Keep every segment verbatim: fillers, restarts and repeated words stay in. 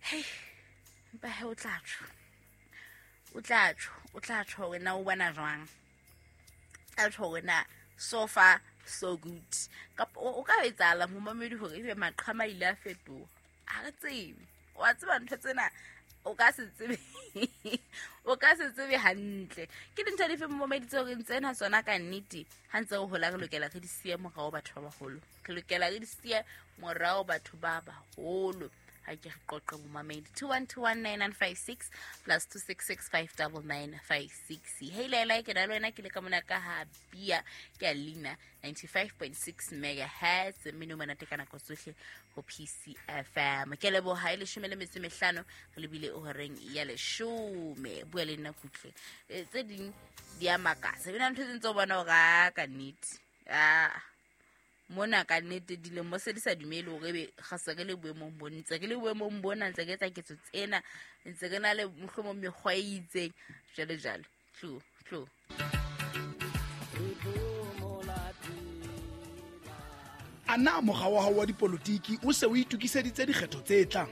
Hei, empa he o tla tjho, o tla tjho, o tla tjho hore na o bona jwang, tla tjho hore na so far so good, kapa o ka etsahala momamedi hore ebe maqhama a ile a fetoha. Ha re tsebe, wa tseba ntho tsena o ka se tsebe, o ka se tsebe hantle ke dintho dife momamedi tseo re ntsena tsona ka nnete. Ha ntse re hola re lokela re di siye morao batho ba baholo, re lokela re di siye morao batho ba baholo. Ha ke re qoqe momamedi, two one two one nine nine five six plus two six six five double nine five six. Hei laela, ke na le wena, ke le ka mona ka ha bia ke a leina ninety five point six megahertz, mmino monate ka nako tsohle ho P C F M. Ke leboha e leshome le metso e mehlano, re lebile horeng ya leshome. Bua le nna kutle. E, tse ding di a makatsa. Ebile ntho tse ntse o bona hore a ka nnete. Ah, mona ka nnete dilemo se di sa dumele hore ebe ga se re le boemong bo, ntse re le boemong bona, ntse re etsa ketso tsena, ntse re na le mohlomong mekgwa e itseng, jwalo jwalo. Tlo, tlo. A na mokga wa hao wa dipolotiki o se o itokiseditse dikgetho tse tlang?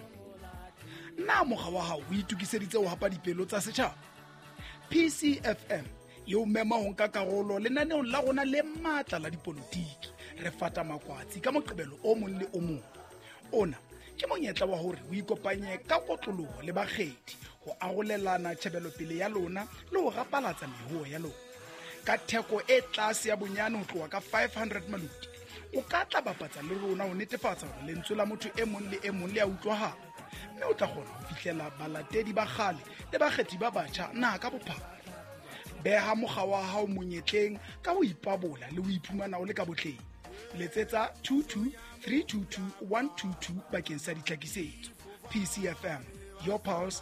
Na mokga wa hao o itokiseditse ho hapa dipelo tsa setjhaba? P C F M e o mema ho nka karolo lenaneong la rona le matla la dipolotiki. Re fata makwatsi ka Moqebelo o mong le o mong. Ona ke monyetla wa hore o ikopanye ka kotloloho le bakgethi ho arolelana tjhebelopele ya lona le ho rapalatsa mehoho ya lona. Ka theko e tlase ya bonyane ho tloha ka five hundred maloti, o ka tla bapatsa le rona ho netefatsa hore lentswe la motho e mong le e mong le a utlwahala, mme o tla kgona ho fihlela balatedi ba kgale le bakgethi ba batjha naha ka bophara. Beha mokga wa hao monyetleng ka ho ipabola le ho iphumana o le ka botleng. Letsetsa two two three two two one two two bakeng sa ditlhakisetso. P C F M, your pulse,